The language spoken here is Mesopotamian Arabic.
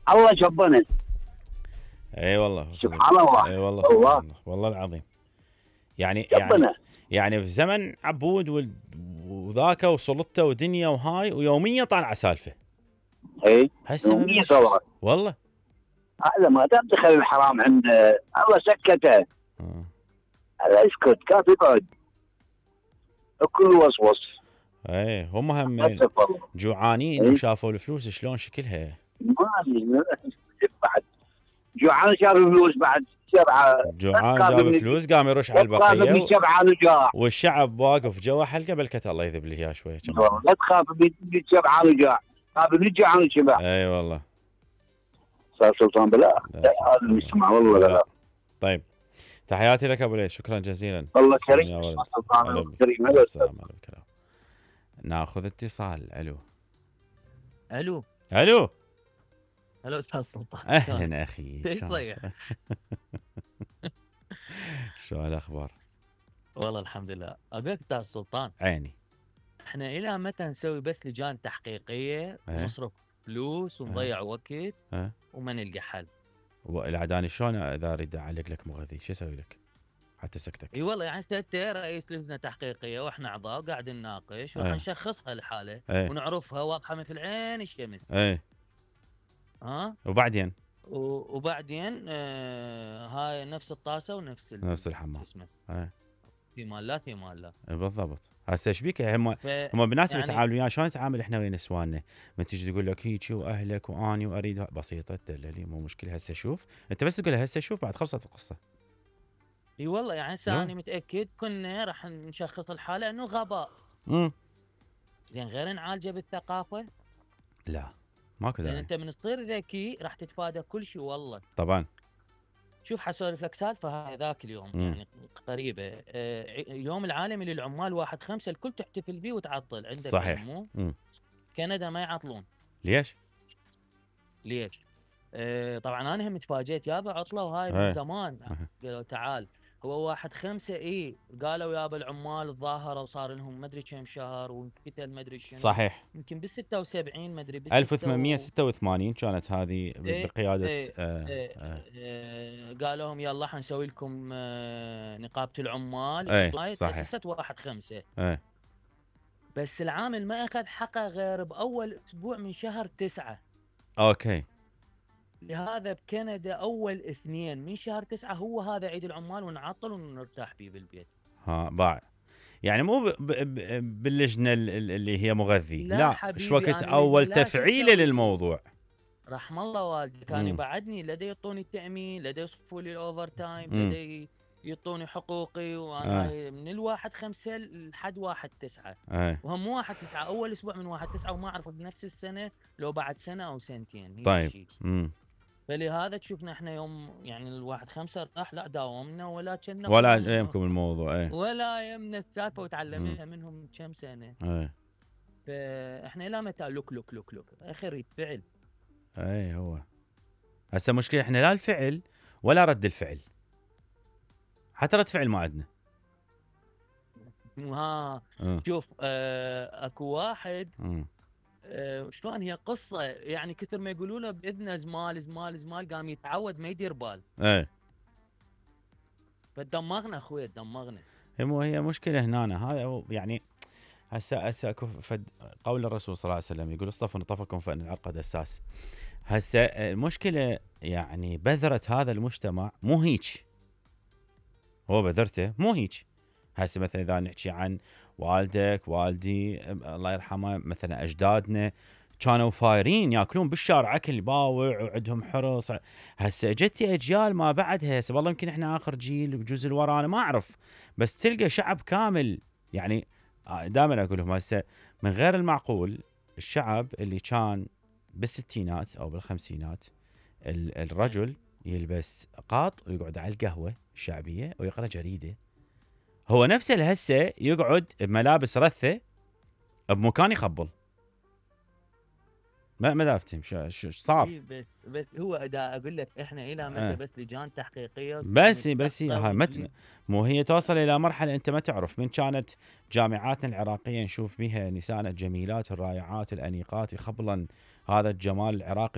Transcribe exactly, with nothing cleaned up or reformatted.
الله جبنا. اي والله سبحان الله. اي والله سبحان الله. الله والله العظيم. يعني جبنا. يعني يعني في زمن عبود وال- وذاك وسلطته ودنيا وهاي ويوميا طالعه سالفه. اي هسه ما يوميا بلش. طبعا. والله هذا ما دام دخل الحرام عنده الله سكته. آه. هذا اسكت كاف يقعد. الكل وصوص. اي هم هم للاسف والله. جوعانين إيه. وشافوا الفلوس شلون شكلها. ما بعد جوعان شاف فلوس بعد سبعه. جوعان جاب فلوس قام يرش على لا تخاف البقيه من سبعه نجاع. والشعب واقف جوا حلقه بلكت الله يذب لي اياه شويه كم. والله لا تخاف من سبعه نجاع. خاف من جوعان وشبع. اي والله. صار سلطان بلا. لا، هذا اللي يسمع والله لا. طيب تحياتي لك ابو ليث، شكرا جزيلا. والله سلام يا كريم. ولد. سلطان هلا بك. كريم. مع هلا السلامه على الكلام. ناخذ اتصال. الو الو الو الو استاذ سلطان. اهلا اخي. ايش شلون- صيح؟ شو الاخبار؟ والله الحمد لله. اقول لك استاذ سلطان، عيني. احنا الى متى نسوي بس لجان تحقيقيه إيه. ونصرف فلوس ونضيع وقت إيه. وما نلقى حل؟ والعداني شلون اذا اريد اعلق لك مغذي شو اسوي لك؟ حتى سكتك. اي والله يعني انت رئيس لجنه تحقيقيه واحنا اعضاء قاعد نناقش وراح إيه. نشخصها الحاله إيه. ونعرفها واضحه مثل عين الشمس. ايه ها وبعدين و- وبعدين آه هاي نفس الطاسه ونفس ال- نفس الحمام. اسمه ايه في مال لا في مال لا. إيه بالضبط. هسه ايش بيك هم ف- هم بالناس يعني- يتعاملوا وياه شلون نتعامل احنا ويا نسواننا؟ ما تجي تقول لك هيك واهلك واني واريد ه- بسيطه تدللي مو مشكله. هسه شوف انت بس تقول له هسه شوف بعد خلصت القصه. اي والله يعني هسه نعم. انا متاكد كنا راح نشخص الحاله انه غباء. امم زين غير نعالجه بالثقافه. لا ماكو لان داعي. انت من تصير ذكي راح تتفادى كل شيء والله. طبعا. شوف حسولف لك سالفه هاي ذاك اليوم مم. يعني قريبه. آه ع- يوم العالمي للعمال واحد خمسة الكل تحتفل به وتعطل عندك صحيح. مو مم. كندا ما يعطلون. ليش؟ ليش؟ آه طبعا انا هم تفاجئت يابا عطله وهاي إيه. من زمان. أها. قالوا تعال هو واحد خمسة اي قالوا يابا العمال تظاهروا وصار لهم مدري كم شهر وانقتل مدري شنو. صحيح. يمكن بال ستة وسبعين مدري بال ألف وثمانمئة وستة وثمانين كانت هذه إيه، بقياده إيه، آه إيه، آه آه، قالوا لهم يلا حنسوي لكم آه، نقابة العمال. إيه، هاي صحيح. تأسست واحد خمسة. آه بس العامل ما أخذ حقه غير بأول أسبوع من شهر تسعة. اوكي. لهذا بكندا أول اثنين من شهر تسعة هو هذا عيد العمال ونعطل ونرتاح فيه بالبيت. ها باع. يعني مو ب- ب- ب- باللجنه ال- ال- اللي هي مغذي. لا لا حبيبي، ايش وقت أنا اول لا شو تفعيله أسوي؟ للموضوع. رحم الله والدي كان مم. يبعدني لدي يعطوني التأمين لدي يصفوا لي الأوفر تايم مم. لدي يعطوني حقوقي وانا آه. هاي من الواحد خمسة لحد واحد تسعة. ايه وهم مو واحد تسعة أول أسبوع من واحد تسعة وما أعرف بنفس السنة لو بعد سنة أو سنتين. هيك طيب. شي. امم فلهذا تشوفنا احنا يوم يعني الواحد خمسة راح لا داومنا ولا كنا ولا كنا- يمكم الموضوع. ايه ولا يمنا السالفة وتعلمناها منهم كم سنة. ايه فاحنا لا متى لوك لوك لوك لوك اخر يد فعل. ايه هو هسه مشكله احنا لا الفعل ولا رد الفعل. حتى رد فعل ما عندنا. ها اه شوف آه اكو واحد اه آه شلون هي قصة يعني كثر ما يقولوا له بإذنه زمال زمال زمال قام يتعود ما يدير بال. ايه فدمغنا اخوي دمغنا. هي مو هي مشكله هنا. هذا هو يعني هسه هسه اكو فد قول الرسول صلى الله عليه وسلم يقول اصطفوا نطفكم فان العرق دساس. هسه المشكله يعني بذره هذا المجتمع مو هيك. هو بذرته مو هيك. هسه مثلا اذا نحكي عن والدك والدي الله يرحمه مثلا اجدادنا كانوا فايرين ياكلون بالشارع اكل باوع وعندهم حرص. هسه اجتي اجيال ما بعدها هسه والله يمكن احنا اخر جيل وجزء اللي ورانا ما اعرف. بس تلقى شعب كامل يعني دائما اقول لهم هسه من غير المعقول الشعب اللي كان بالستينات او بالخمسينات ال- الرجل يلبس قاط ويقعد على القهوه الشعبيه ويقرا جريده. هو نفسه اللي هسه يقعد بملابس رثه بمكان يخبل. ما ما دافتهم شو شو صار. إيه بس بس هو اذا اقول لك احنا الى متى آه. بس لجان تحقيقيه بس بس نتأخر هاي مت ونجيب. مو هي توصل الى مرحله انت ما تعرف من كانت جامعاتنا العراقيه نشوف بها نساء الجميلات الرائعات الانيقات يخبلن هذا الجمال العراقي